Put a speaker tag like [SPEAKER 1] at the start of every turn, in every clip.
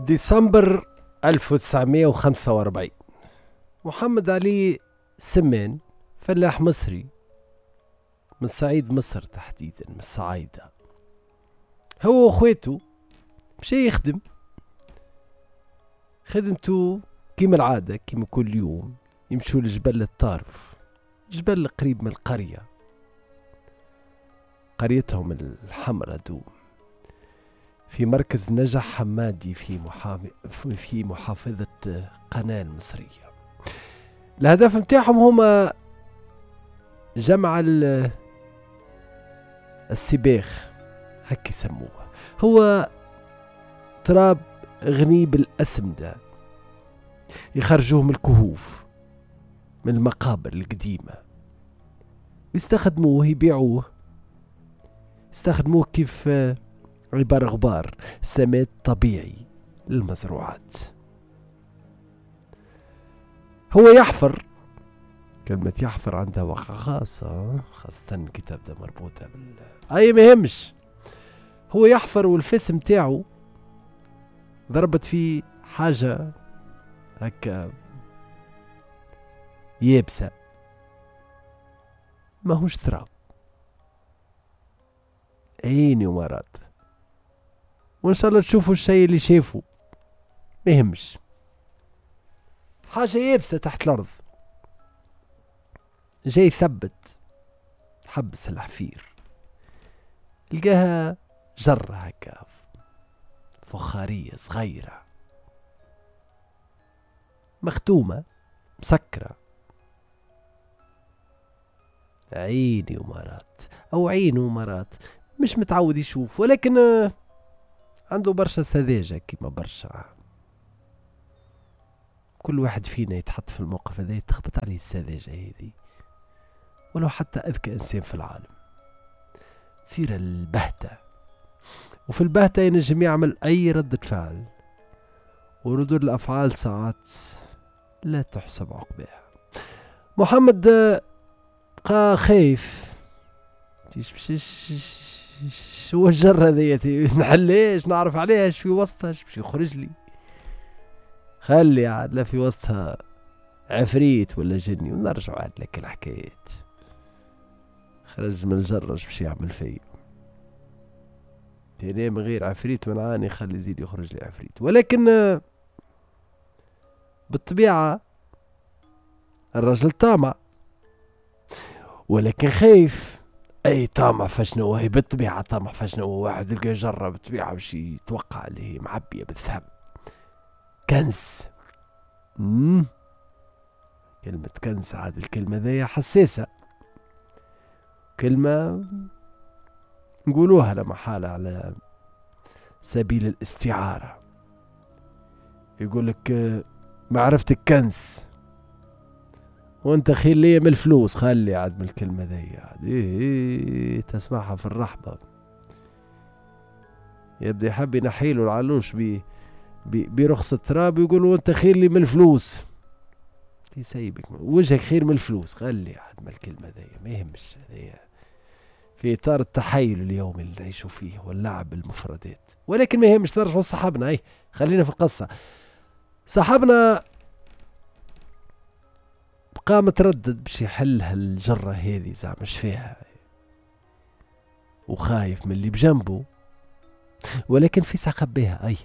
[SPEAKER 1] ديسمبر 1945، محمد علي سمان، فلاح مصري من صعيد مصر، تحديدا من الصعايدة، هو واخواته مشى يخدم خدمته كيما العادة، كيما كل يوم يمشوا لجبل الطارف، جبل قريب من القرية، قريتهم الحمرة دوم، في مركز نجع حمادي في محافظة قناة المصرية. الهدف متاعهم هما جمع السباخ، هكا يسموه، هو تراب غني بالأسمدة يخرجوه من الكهوف، من المقابر القديمة، ويستخدموه، يبيعوه، يستخدموه كيف عبارة غبار، سماد طبيعي للمزروعات. هو يحفر، كلمة يحفر عندها وقع خاصة، خاصة كي تبدا مربوطة بال أي ما يهمش. هو يحفر والفس متاعو ضربت فيه حاجة هكا يابسة، ماهوش تراب، عيني ومرات، وإن شاء الله تشوفوا الشيء اللي شافوا، ما يهمش، حاجة يابسة تحت الأرض. جاي ثبت، حبس الحفير، لقاها جرة هكا فخارية صغيرة مختومة مسكرة. عيني ومرات، أو عينه ومرات، مش متعود يشوف، ولكن عنده برشا سذاجة كيما برشا. كل واحد فينا يتحط في الموقف هذا يتخبط عليه السذاجة هذه، ولو حتى أذكى إنسان في العالم تصير البهتة، وفي البهتة ينجم يعمل أي ردة فعل، وردود الأفعال ساعات لا تحسب عقباها. محمد بقى خايف، شو الجرة ذي، نحليش نعرف عليها اش في وسطها، اش باش يخرج لي، خلي عاد لا في وسطها عفريت ولا جني، ونرجعوا عاد لك الحكايات. خرج من الجرة باش يعمل فيا تاني من غير عفريت منعاني، خلي يزيد يخرج لي عفريت. ولكن بالطبيعة الرجل طامع، ولكن خايف. اي طامع فشنو هي، بالطبيعة طامع فشنو، واحد لقى جرة بالطبيعة باش يتوقع اللي هي معبية بالذهب، كنز. كلمة كنز عاد الكلمة ذي حساسة، كلمة نقولوها لما حالة على سبيل الاستعارة. يقول لك معرفتك كنز وانت خير لي من الفلوس، خلي عاد من الكلمة ذي عاد إيه تسمعها في الرحبة، يبدأ يحب ينحيله العلوش برخص التراب، يقول انت خير لي من الفلوس، يسيبك وجهك خير من الفلوس، خلي عاد من الكلمة ذي ما يهمش. هذي في إطار التحايل اليومي اللي نعيشوا فيه واللعب بالمفردات، ولكن ما يهمش. نرجعوا لصاحبنا، اي خلينا في القصة. صاحبنا بقى متردد باش يحل هالجرة هذه، زعما اش فيها، وخايف من اللي بجنبه، ولكن في ساعة خبيها. اي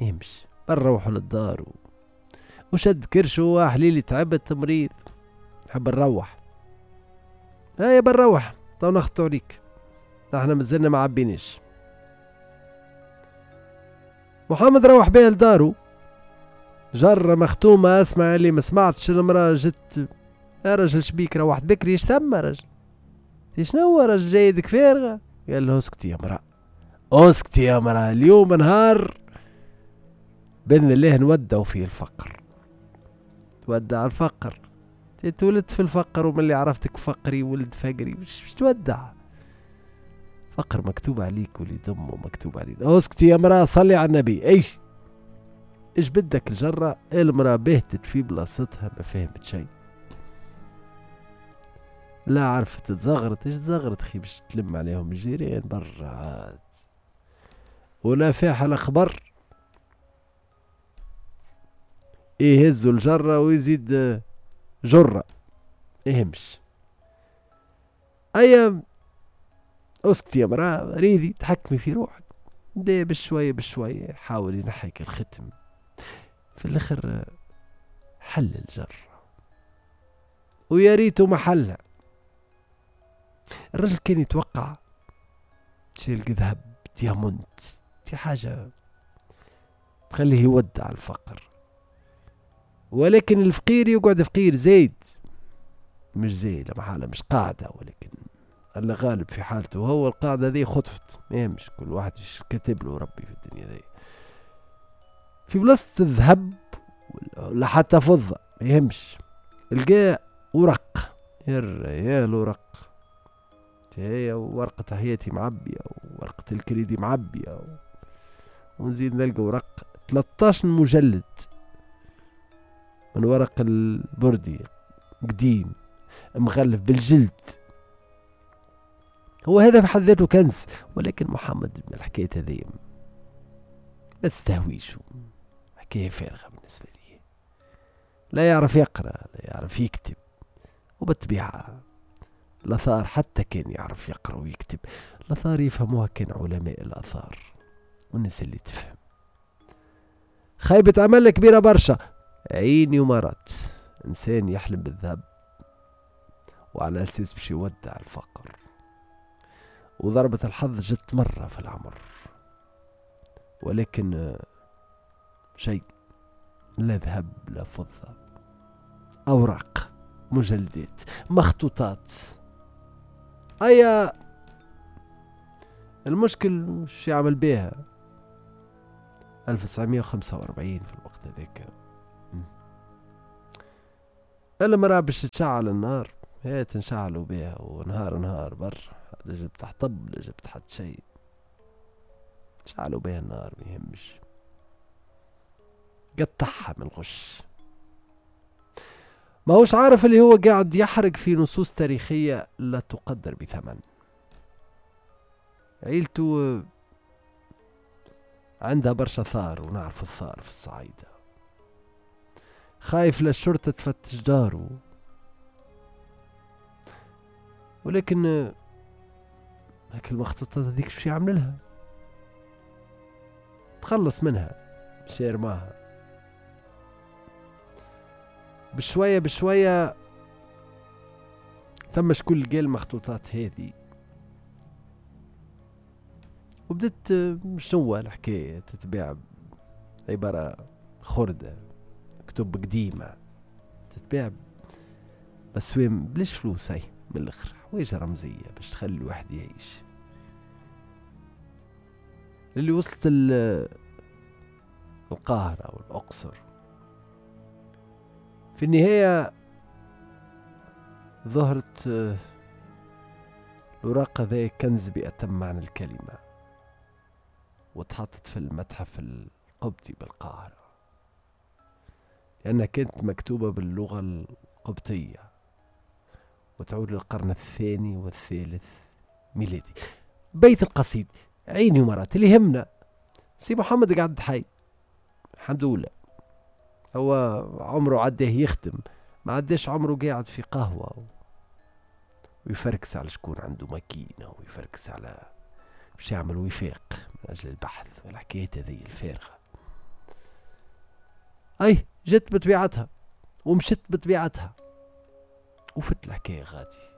[SPEAKER 1] ما يهمش، بنروحوا للدار وشد كرشو، حليلي تعبت مريض نحب نروح، هيا بنروح تو نخطو عليك، احنا مازلنا ما عبيناش. محمد روح بها لدارو، جرة مختومة، اسمع اللي ما سمعتش، المرأة جت، يا رجل شبيك روحت بكري، اش ثم رجل، شنو رجل جايدك فارغة؟ قال له اسكتي يا مرأة، اسكتي يا مرأة، اليوم نهار بإذن الله نودعوا فيه الفقر، تودع الفقر، تولدت في الفقر ومن اللي عرفتك فقري ولد فقري، مش تودع فقر، مكتوب عليك ولد امه مكتوب علينا. اسكتي يا مرأة، صلي على النبي. ايش ايش بدك الجرة؟ المرأة بهتت في بلاصتها، ما فهمت شيء، لا عرفت تزغرت، ايش تزغرت خي باش تلم عليهم الجيران برا عاد، ولا فيها الخبر. يهزوا الجرة ويزيد جرة، يهمش. أيا اسكتي يا مرأة، ريدي تحكمي في روحك. بدا بشوية بشوية حاول ينحيك الختم، في الاخر حل الجرة، ويا ريته ما حلها. الرجل كان يتوقع شيء ذهب، diamant، دي حاجة تخليه يودع الفقر، ولكن الفقير يقعد فقير زايد، مش زايد محالة، مش قاعدة، ولكن الله غالب في حالته هو القاعدة ذي خطفت، ما يهمش، كل واحد كاتب له ربي في الدنيا ذي. في بلاصة الذهب ولا حتى فضة ما يهمش، لقى ورق، يا الورق هي ورقة حياتي معبية وورقة الكريدي معبية، ونزيد نلقى ورق 13 مجلد من ورق البردي قديم مغلف بالجلد. هو هذا في حد ذاته كنز، ولكن محمد من الحكاية هذه ما تستهويش، حكاية فارغة بالنسبة لي، لا يعرف يقرأ لا يعرف يكتب، وبالطبيعة الآثار حتى كان يعرف يقرأ ويكتب، الآثار يفهموها كان علماء الآثار والناس اللي تفهم. خيبة أمل كبيرة برشا، عيني ومرات إنسان يحلم بالذهب وعلى أساس باش يودع الفقر، وضربة الحظ جت مرة في العمر، ولكن شيء لا ذهب لا فضة، أوراق، مجلدات، مخطوطات. أيا المشكل شو يعمل بيها؟ 1945 في الوقت هذاك المرأة باش تشعل النار، هي تنشعلوا بيها ونهار نهار برا، لا جبت حطب لا جبت حتى شيء، شعلوا بيها النار ما يهمش، قطعها من الغش. ما هوش عارف اللي هو قاعد يحرق في نصوص تاريخية لا تقدر بثمن. عيلته عندها برشا ثار، ونعرف الثار في الصعيدة، خايف للشرطة تفتش داره، ولكن هاك المخطوطات هذيك شو يعمل لها؟ تخلص منها، مش يرماها. بشوية بشوية ثم شكون لقى المخطوطات هذه، وبدت شنو الحكاية تتباع، عبارة خردة، كتب قديمة تتباع بس وين بلاش فلوس، هاي من الاخر حوايج رمزية باش تخلي الواحد يعيش. اللي وصلت القاهرة والأقصر في النهاية ظهرت الأوراق ذي كنز بأتم معنى الكلمة، وتحطت في المتحف القبطي بالقاهرة، لأنها كانت مكتوبة باللغة القبطية وتعود للقرن الثاني والثالث ميلادي. بيت القصيد عيني ومرات اللي يهمنا سي محمد قعد حي الحمد لله، هو عمره عداه يخدم، ما عداش عمره قاعد في قهوة ويفركس على شكون عنده ماكينة ويفركس على باش يعمل وفاق من أجل البحث والحكايات هذه الفارغة. أي جت بطبيعتها ومشت بطبيعتها وفت الحكاية غادي،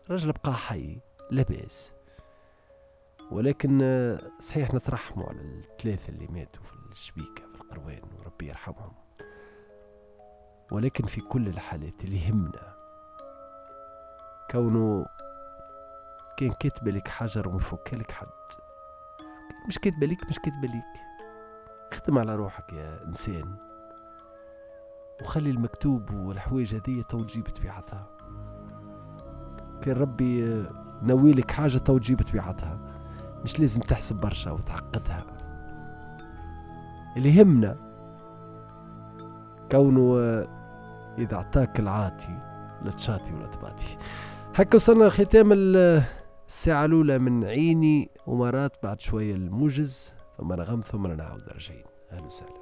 [SPEAKER 1] رجل بقى حي لاباس، ولكن صحيح نترحموا على الثلاثة اللي ماتوا في الشبيكة في القروان وربي يرحمهم، ولكن في كل الحالات اللي يهمنا كونه كان كاتب لك حجر ومفك لك حد، مش كاتب لك مش كاتب لك، خدم على روحك يا إنسان وخلي المكتوب والحوايج هذية تو تجيب طبيعتها. كان ربي ناويلك حاجة تو تجيب طبيعتها، مش لازم تحسب برشا وتعقدها. اللي يهمنا كونه إذا أعطاك العاطي لا تشاطي ولا تباطي. هكا وصلنا لختام الساعة الأولى من عيني ومرات، بعد شوية الموجز ثم نغم ثم نعاود راجعين. أهلا وسهلا.